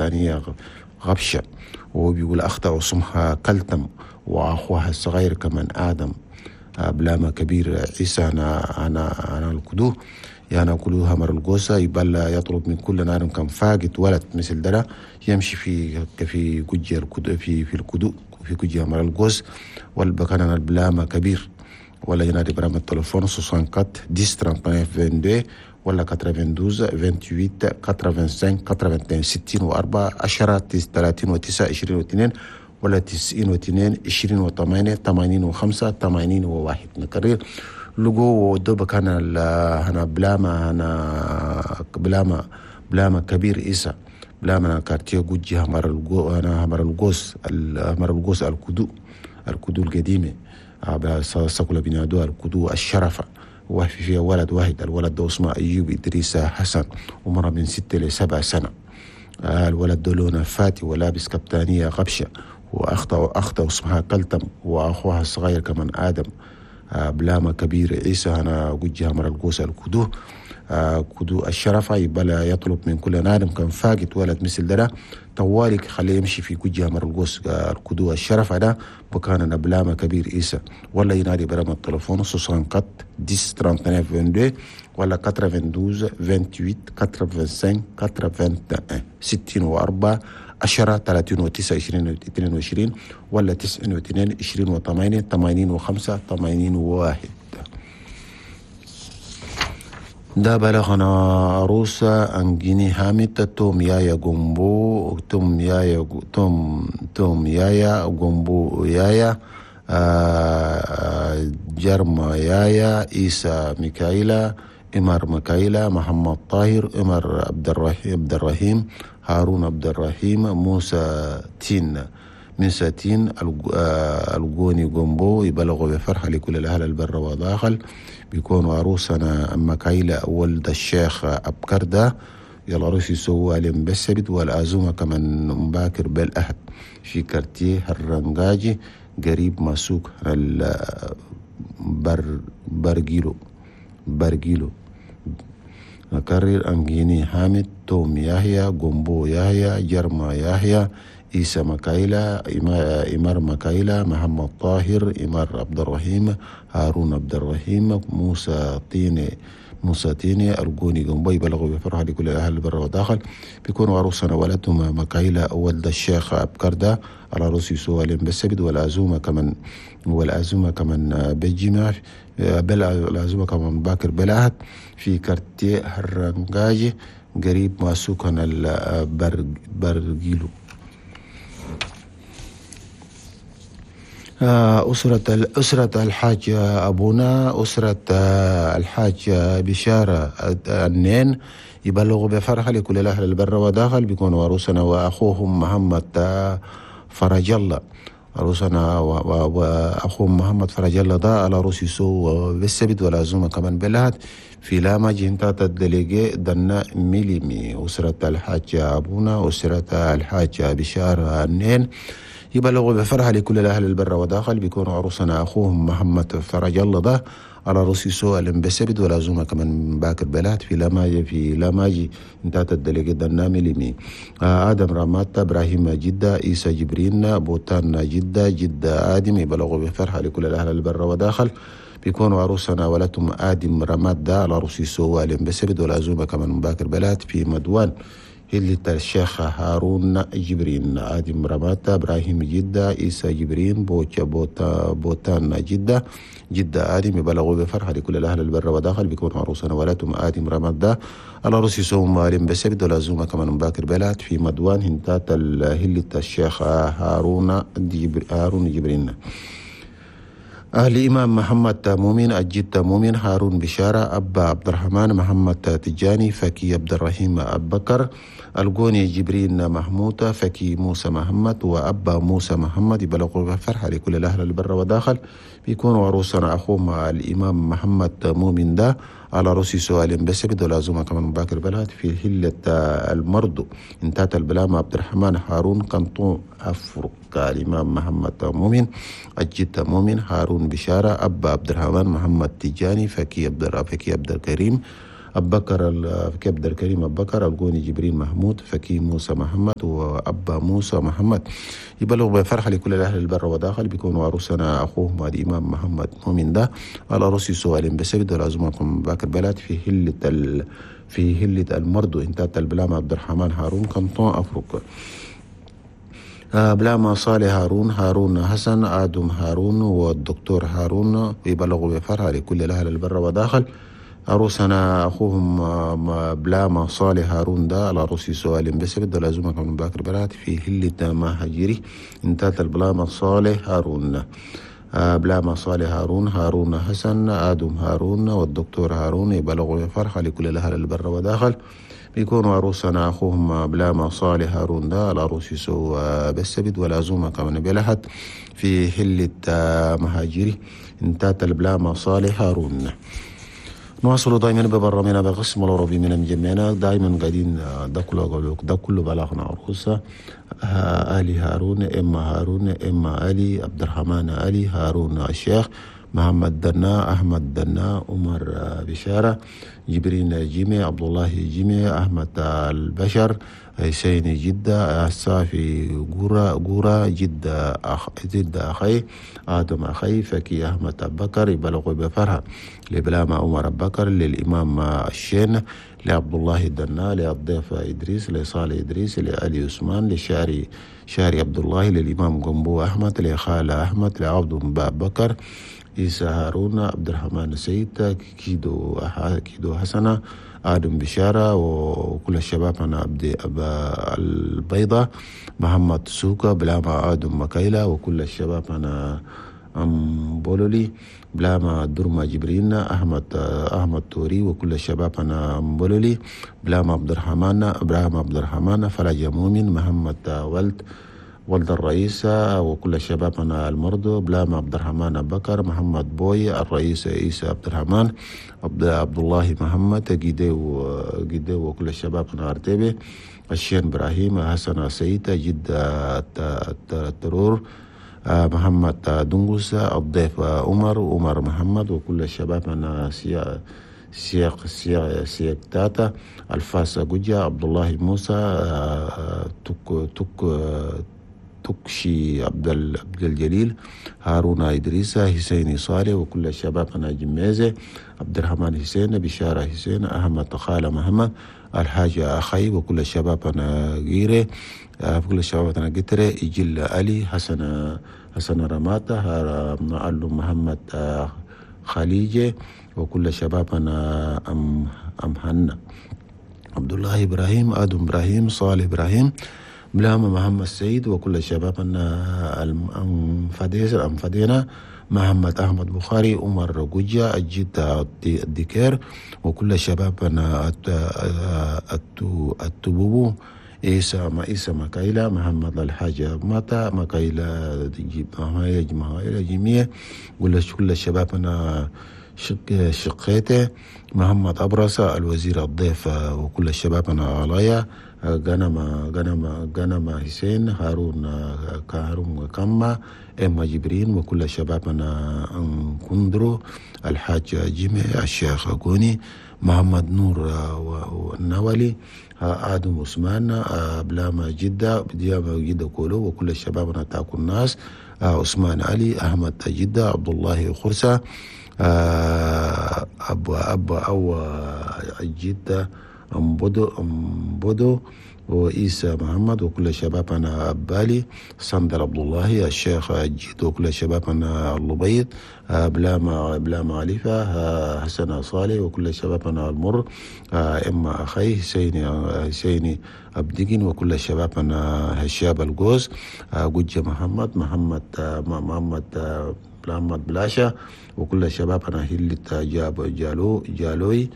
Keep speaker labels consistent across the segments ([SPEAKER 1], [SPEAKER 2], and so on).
[SPEAKER 1] كبتانية غبشة، وبيقول أخته اسمها كلتم وأخوها الصغير كمان آدم. بلاما كبير عيسى أنا الكدو يعني كلها مر الجوسة. يبلا يطلب من كل نار كان فاقد ولد مثل ده يمشي في جوجي الكدو في الكدو في جوجي مر الجوس والبكان البلاما كبير. ولا ينادي برام التليفون 64 10 39 22 ولا 92 28 85 81 64 10 39 22 ولا 92 28 85 81. نكرر لقو ودوب كان هنا بلاما هنا بلاما كبير إيسا بلاما كارتيه جوجي همر الجو أنا همر الجوس همر الجوس الكدو القديمة ساكولا بنادو الكدو الشرفة. وفي فيها ولد واحد، الولد ده اسمه أيوب إدريس حسن، عمره من 6 ل 7 سنة. الولد ده لونه فاتي ولابس كبتانية غبشة، وأخته اسمها كلتم وأخوها الصغير كمان آدم. بلاما كبير عيسى أنا جوجها مر القوس الكدو كدو الشرفة. يبلا يطلب من كل نادم كان فاقد ولد مثل ده طوالك خليه يمشي في جوجها مر القوس الكدو الشرفة ده بكان بلاما كبير عيسى. ولا ينادي برام التليفون 64 10 39 22 ولا 92 28 85 81 64 10 39 22 ولا 92 28 85 81. ده بلغنا عروسة أنجيني هامت توم يايا جومبو توم يايا توم يايا جومبو يايا جرما يايا إيسا ميكايلا إمر ميكايلا محمد طاهر إمر عبد الرحيم هارون عبد الرحيم موسى تين موسى تين الجوني جومبو. يبلغوا بفرحة لكل الأهل البر وداخل. بيكونوا عروسنا مكايلة ولد الشيخ أبكردة يلا روس يسووا عليهم بالسبت والعزومة كمان مباكر بالأهد في كارتيه الرنجاجي قريب مسوق برجيلو. نكرر أنجيني حامد توم يحيى جومبو يحيى جرما يحيى إيسا مكايلة إمار مكايلة محمد طاهر إمار عبد الرحيم هارون عبد الرحيم موسى تيني الجوني جنبي. بلغوا بفرحة لكل أهل البر وداخل. بيكونوا عروسنا ولدهم مكايلة ولد الشيخ أبكردة على رؤوس سوالم بالسبت والعزومة كمان بجمع بل العزومة كمان باكر بلاهت في كارتيه الرنجاجي قريب ما سكن البرجيلو. أسرة الحاج أبونا أسرة الحاج بشارة النين يبلغوا بفرحة لكل الأهل البر وداخل. بيكونوا عروسنا وأخوهم محمد فرج الله عروسنا وأخوهم محمد فرج الله ده على روسي سو بالسبت والعزومة كمان بلهت في لاما جنتات الدليجي دنا ميليمي. أسرة الحاج أبونا أسرة الحاج بشارة النين يبلغوا بفرحة لكل الأهل البر وداخل. بيكونوا عروسنا أخوهم محمد فرج الله ده على رؤوس سؤال بسبت والعزومة كمان باكر بلاد في لاماجي انتهت الدليجي دنا ميليمي. آدم راماتا إبراهيم جدة إيسا جبرين بوتان جدة جدة آدم يبلغوا بفرحة لكل الأهل البر وداخل. بيكونوا عروسنا ولدهم آدم رامات ده على رؤوس سؤال بسبت والعزومة كمان باكر بلاد في مدوان هلة الشيخ هارون جبرين آدم رماتا إبراهيم جدة إيسا جبرين بوتان جدة جدة آدم يبلغوا بفرحة لكل الأهل البر وداخل. بيكون عروسنا ولاتهم آدم رماتا على رؤوس سوم مالين بسبت والعزومة كمان باكر بلاد في مدوان هنتات هلة الشيخ هارون جبرين. أهل إمام محمد مؤمن الجد مؤمن هارون بشارة أبا عبد الرحمن محمد تجاني فكي عبد الرحيم أبكر الجوني جبرين محمود فكي موسى محمد وأبا موسى محمد يبلغوا بفرحة لكل الأهل البر وداخل. بيكونوا عروسنا أخوهم الإمام محمد مؤمن ده على رؤوس سؤال بسبت والعزومة كمان باكر بلاد في هلة المرض انتهت البلامة عبد الرحمن هارون كنطون أفريقيا الإمام محمد مؤمن الجد مؤمن هارون بشارة أبا عبد الرحمن محمد تجاني فكي عبد الكريم أبكر كبد الكريم أبكر القوني جبريل محمود فكي موسى محمد وأبا موسى محمد. يبلغ بفرحة لكل الأهل البر وداخل بيكونوا عروسنا أخوهم الإمام محمد مؤمن ده العروسي سؤال بسبب لازمكم باكر بلد في هلة في هلة المرض انتات البلامة عبد الرحمن هارون كنطون أفريقيا. بلاما صالح هارون، هارون حسن، آدم هارون والدكتور هارون. يبلغوا بفرحة لكل الأهل البر وداخل عروسنا أخوهم بلاما صالح هارون ده العروسي سؤال بسبب لازمك من باكر بلاد في هلة مهاجري انتات البلاما صالح هارون. بلاما صالح هارون، هارون حسن، آدم هارون والدكتور هارون. يبلغوا بفرحة لكل الأهل البر وداخل بيكونوا عروسنا أخوهم بلاما صالح هارون ده العروس يسو بالسبت والعزومة كمان بلحد في حلة مهاجري انتات البلاما صالح هارون. نواصل دائما ببرنامجنا بقسم العربي من مجمعنا دائما قاعدين ده كله ده كله بلاغنا عروسة آلي هارون، إما هارون، إما علي، عبد الرحمن علي، هارون الشيخ، محمد دنا، أحمد دنا، عمر بشارة، جبرين جيمي، عبد الله جيمي، أحمد البشر، حسين جدة، الصافي غورا جدة جدة أخي، آدم أخي، فكي أحمد أبكر. يبلغ بفرحة لبلامة عمر أبكر، للإمام الشين، لعبد الله الدنا، للضيف إدريس، لصالح إدريس، لعلي عثمان، لشاري شاري عبد الله، للإمام قنبو أحمد، لخالة أحمد، لعبد بكر، عيسى هارون، عبد الرحمن سيد، كيدو كيدو حسنة، آدم بشارة، وكل الشباب أنا عبد أبا البيضة، محمد سوكا، بلاما آدم مكايلة، وكل الشباب أنا أم بولولي، بلاما درما جبرين، أحمد توري، وكل الشباب أنا أم بولولي، بلاما عبد الرحمن، إبراهيم عبد الرحمن، فرج مؤمن، محمد ولد الرئيس، وكل الشباب أنا المرضو، بلاما عبد الرحمن بكر، محمد بوي، الرئيس عيسى عبد الرحمن، عبد الله محمد، جيديو، وكل الشباب أنا أرتبي، الشين إبراهيم، حسن سيد، جد الترور، محمد دنقس، الضيف عمر محمد، وكل الشباب أنا سياق سياق سياق تاتا، الفاس جوجا، عبد الله موسى، تك تك تكشي عبد الجليل، هارون إدريس، حسين صالح، وكل الشباب أنا جميزة، عبد الرحمن حسين، بشارة حسين، أحمد خالة محمد، الحاج أخي، وكل الشباب أنا غيرة، كل الشباب أنا قترة، إجل علي، حسن رماته، معلم محمد خليجة، وكل الشباب أنا أم حنا، عبد الله إبراهيم، آدم إبراهيم، صالح إبراهيم، بلاما محمد سيد، وكل الشباب أن أنفدينا، محمد أحمد بخاري، عمر جوجا، الجد الدكير، وكل الشباب أنا التبوبو، عيسى مكايلة، محمد الحاج ماتا، مكايلة جميع، كل الشباب أنا شقيته، محمد أبرصة، الوزير الضيف، وكل الشباب أنا علايا، غنما حسين، هارون كما، إما جبرين، وكل الشباب أنا كندرو، الحاج جيمي، الشيخ غوني، محمد نور النوالي، آدم عثمان، بلاما جدة، بديابة جدة كولو، وكل الشباب أنا تاكل الناس، عثمان علي، أحمد جدة، عبد الله خرسة، أبا أو جدة، أم بدو وإيسى محمد، وكل الشباب أنا أبالي، سندر عبد الله، الشيخ جيد، وكل الشباب أنا اللبيض، بلاما عليفة، حسن صالح، وكل الشباب أنا المر، إما أخي حسيني أبدقين، وكل الشباب أنا هشاب الجوز، جوجة محمد محمد بلاشا، وكل الشباب أنا هلة جاب جالوي،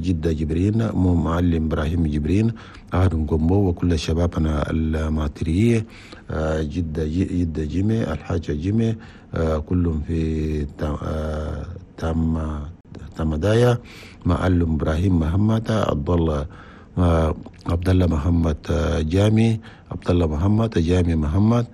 [SPEAKER 1] جدة جبرين، معلم إبراهيم جبرين، أهل قنبو، وكل الشباب أنا الماترية، جدة جيمي، الحاجة جيمي، كلهم في تمدايا، معلم إبراهيم محمد، عبد الله محمد جامي، عبد الله محمد جامي محمد،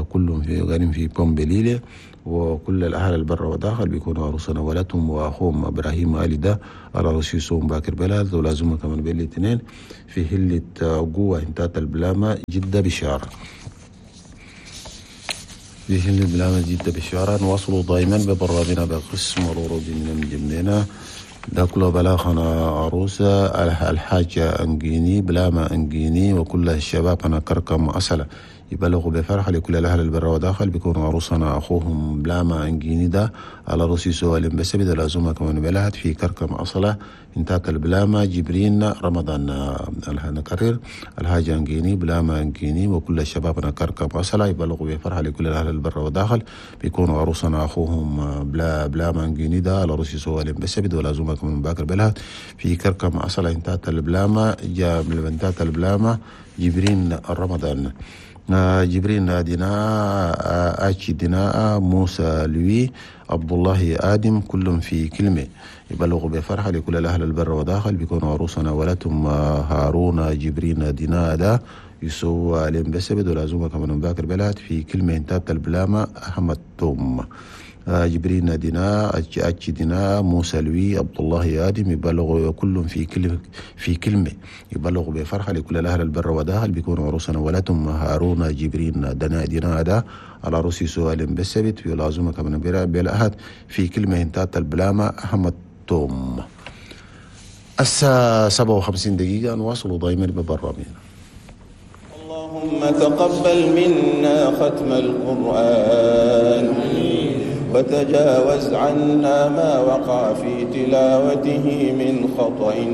[SPEAKER 1] كلهم في قاعدين في بومبليلي. وكل الأهل البر وداخل بيكونوا عروسنا ولدهم وأخوهم إبراهيم علي ده على رصيصهم باكر بلد، ولازم كمان بالاثنين في هلة قوة انتات البلامة جدة بشارة، في هلة بلامة جدة بشارة. نواصلوا دائما ببرامجنا بقسم الأوروبي من جمينا ده كله بلاغنا عروسة الحاجة أنجيني بلامة أنجيني وكل الشباب أنا كركم أسلة يبلغوا بفرحة لكل الأهل البر وداخل بيكونوا عروسنا أخوهم بلاما أنجيني ده على رصي سؤال بس بدل لازمة كمان بلهت في كركم أصلة انتات البلاما جبرين رمضان. نكرر الحاج أنجيني بلاما أنجيني وكل الشباب أنا كركم أصلة يبلغوا بفرحة لكل الأهل البر وداخل بيكونوا عروسنا أخوهم بلاما أنجيني ده على رصي سؤال بس بدل لازمة كمان باكر بلهت في كركم أصلة انتات البلاما انتات البلاما جبرين رمضان. جبرين ديناء آتشي ديناء موسى لوي عبد الله آدم كلهم في كلمة يبلغوا بفرحة لكل الأهل البر وداخل بيكونوا عروسنا ولدهم هارون جبرين ديناء ده يسوى عليهم بس بدو لازمة كمان باكر بلاد في كلمة انتات البلامة أحمد توم. جبرين ديناء أتشي ديناء موسى لوي عبد الله آدم يبلغوا كلهم في كلمة يبلغوا بفرحة لكل الأهل البر وداخل بيكونوا عروسنا ولدهم هارون جبرين ديناء ده على رأس سؤال بسبت في العزومة كمان بالأهد في كلمة انتات البلامة أحمد توم. الساعة 57 دقيقة نواصل دائما ببرامجنا.
[SPEAKER 2] اللهم تقبل منا ختم القرآن وتجاوز عنا ما وقع في تلاوته من خطأ.